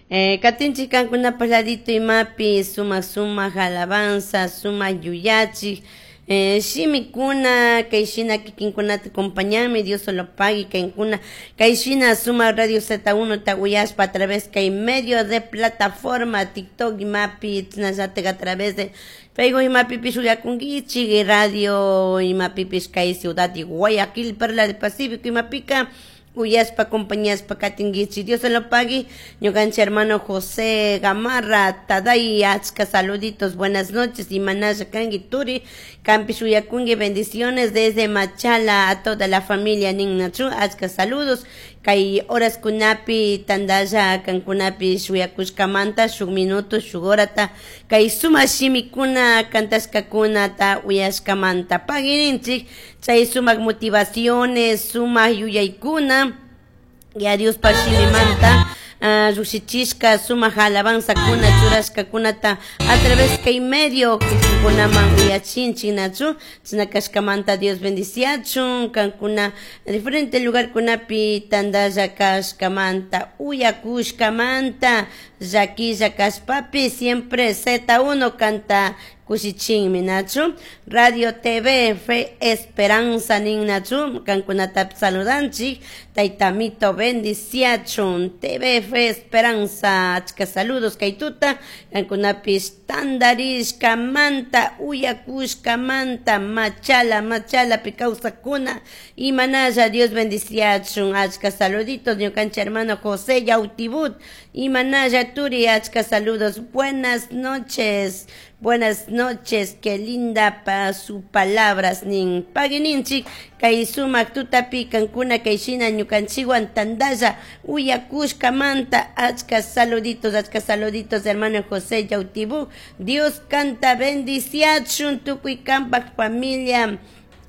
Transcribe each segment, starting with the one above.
Katinchik kankunapaj ladito imapi sumak sumak alabanza, sumak yuyachik shimikuna kay shina kikinkunata acompañanmi. Dios lo pague kaykuna kay shina sumak Radio Z1 ta uyashpa a través kay medio de plataforma TikTok imapi, chasnallatak a través de Facebook imapipish uyakunkichik, radio imapipish kay ciudad de Guayaquil, Perla del Pacífico imapika uyashpa acompañashpa katinkichik. Dios lo pague. Ñukanchik hermano José Gamarra Taday, achka saluditos, buenas noches, imanalla kanki turi, kampish uyakunki, bendiciones desde Machala a toda la familia ninnachu, achka saludos kay horas kunapi tandalla kankunapish uyakushkamanta shuk minuto shuk horata kay sumak shimikuna kantashkakunata uyashkamanta paguirinchik chay sumak motivaciones, sumak yuyaykuna ya Diospaj shimimanta llukshichishka sumak alabanzakuna churashkakunata a través kay medio kunaman uyachinchik nachu. Chashna kashkamanta Dios bendiciachun kankuna diferente lugarkunapi tandalla kashkamanta uyakushkamanta. Llaquilla kashpapi siempre Z1 kanta kushichinmi nachu. Radio TV Fe Esperanza nin nachu, kankunata saludanchik, taytamito bendiciachun. TV Fe Esperanza, achka saludos kay tuta kankunapish tandarishkamanta uyakushkamanta. Machala, Machalapi kawsakuna imanalla, Dios bendiciachun, achka saluditos. Ñukanchik hermano José Yautibut, imanalla turi, achka saludos, buenas noches, buenas noches, qué linda pa su palabras nin. Paguininchik kay sumak tutapi kankuna kay shina ñukanchikwan tandalla uyakushkamanta, achka saluditos, achka saluditos, hermano José Yautibú. Dios kanta bendiciachun tukuy kampak familia,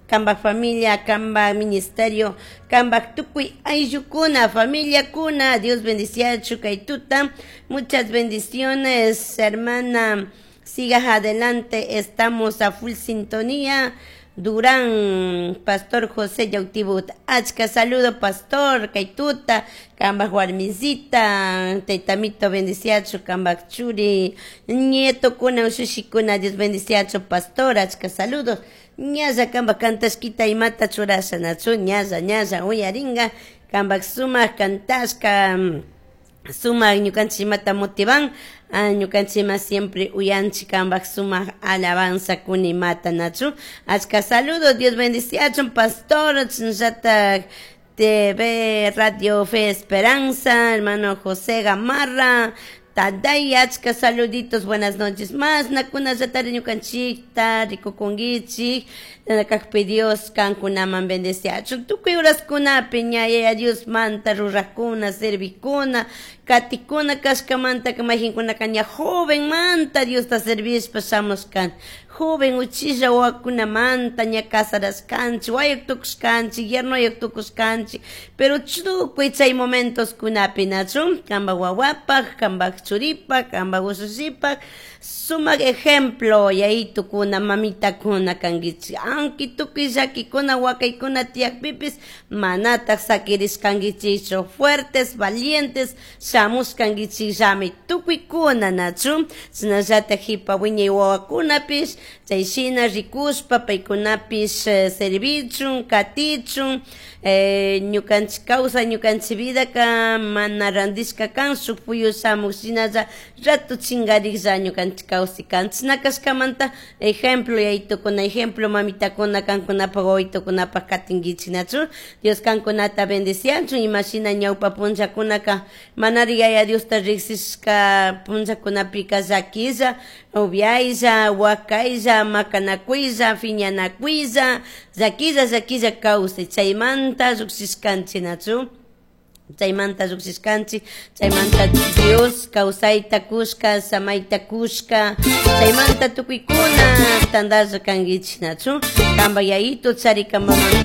kambak familia, kambak ministerio, kambak tukuy ayllukuna, familiakuna, Dios bendiciachu kay tuta. Muchas bendiciones, hermana. Sigas adelante, estamos a full sintonía. Durán, Pastor José Yautibut. Achka saludo, Pastor, kay tuta, kambak warmisita, taytamito bendiciachu, kambak churi, nieto kuna, ushushikuna, Dios bendiciachu, Pastor, achka saludos. Ñalla kambak kantashkita imata churasha nachu, ñalla, ñalla, uyaringa, kambak sumak kantashka, sumak ñukanchik imata motivan, ñukanchik siempre uyanchik kambak sumak alabanza kuna imata nachu. Achka saludos, Dios bendiciachun, Pastor, chasnallatak TV Radio Fe Esperanza, hermano José Gamarra, Taday, achka saluditos, buenas noches. Más nakunallatari ñukanchikta rikukunkichik, kakpi Dios kankunaman bendeciachun. Tukuy horaskunapi ña Yaya Dios manta rurakkuna, servikuna, katikuna kashkamanta mayqinkunaka ña joven manta Diosta servishpa shamushkan. Joven uchilla wawakunamanta ña casarashkanchik, wayuk tukushkanchik, yernoyuk tukushkanchik, pero tukuy chay momentos kunapi nachu, kanpak wawapaj, kanpak churipak, kanpak ushushipak, sumak ejemplo yayitukuna, mamitakuna kankichik. Aunque tukuy llakikuna, wakaykuna tiyakpipis, manatak sakirishkankichikchu, fuertes, valientes, shamushkankichikllami tukuykuna nachu, chasnallatak jipa wiñay wawakunapish, chay shina rikushpa paykunapish servichun, katichun, ñukanchik kawsay, ñukanchik vidaka mana randishka kan, shuk puyu shamuk shinalla rato chingariklla ñukanchik kawsay kan. Chashna kashkamanta ejemplo yayitukuna, ejemplo mamitakuna kankunapak wawitukunapak katinkichik nachu. Dios kankunata bendiciachun imashina ñawpa punllakunaka manari Yaya Diosta riksishka punllakunapika llakilla, upiaylla, wakaylla, makanakuylla, piñanakuylla, llakilla, llakilla kawsay, chaymanta llukshishkanchik nachu. Chaymanta llukshishkanchik, chaymanta Dios kawsayta kushka, samayta kushka, chaymanta tukuykuna tandalla kankichik nachu. Kanpak yayito chari, kanpak mamita.